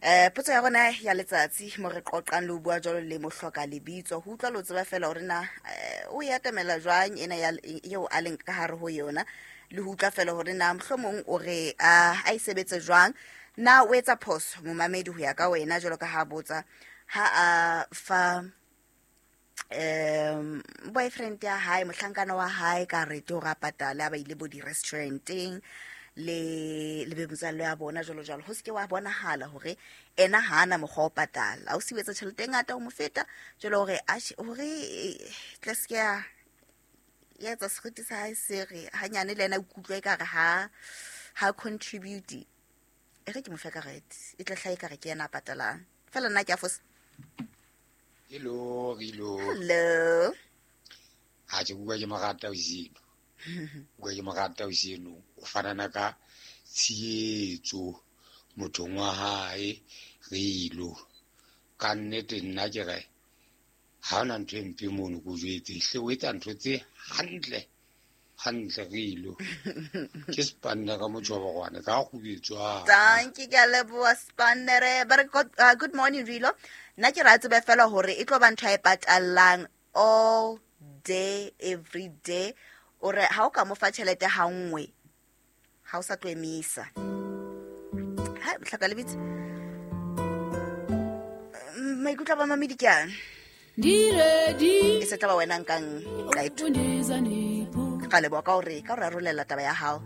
Potso ya rona ya letsatsi mo re qoqang le ho bua jwalo le mohloka lebitso, ho utlwa le ho tseba fela hore na o e atamela jwang ena ya eo a leng ka hare ho yona, le ho utlwa fela hore na mohlomong o re a e sebetse jwang. Na o etsa phoso momamedi ho ya ka wena, jwalo ka ha botsa ha a fa boyfriend ya hae, mohlankana wa hae, karete hore a patale a ba ile bo di-restauranteng le be motswalle ya bona jwalo jwalo, ho seke wa bonahala hore ena ha ana mokgwa wa ho patala, o si etsa tjhelete e ngata ho mo feta jwale, hore hore tle se ke ya etsa seriti sa hae se re hanyane le ena o ikutlwa ekare ha contribute, e re ke mo fe karete e tla hlaha ekare ke yena a patalang fela. Nna ke a fosa? Hello, Rilo. Hello. Ha ke bua ke mo rata oseno. Bua ke mo rata oseno. O fanana ka tshietso mothong wa hae, Rilo. Ka nnete nna ke re ha hona ntho e mpe mono, ko jwetse hle, o etsa ntho tse hantle hantle, Rilo. Ke spanne ka motjhoborwane ka kgubetswa. Dankie, ke a leboha Spannere. But good morning, Rilo. Nna ke ra tsebe fela hore e tlo ba ntho e patallang all day every day. O re ha o ka mo fa tjhelete ha nngwe, ha o sa tlo emisa. Ha hlaka lebitso. Maikutlo a bamamedi ke ana. Diredi. E se tla ba wena nkang qeto. Undizanipho. Ka leboha ka hore ka hore arolela taba ya hao.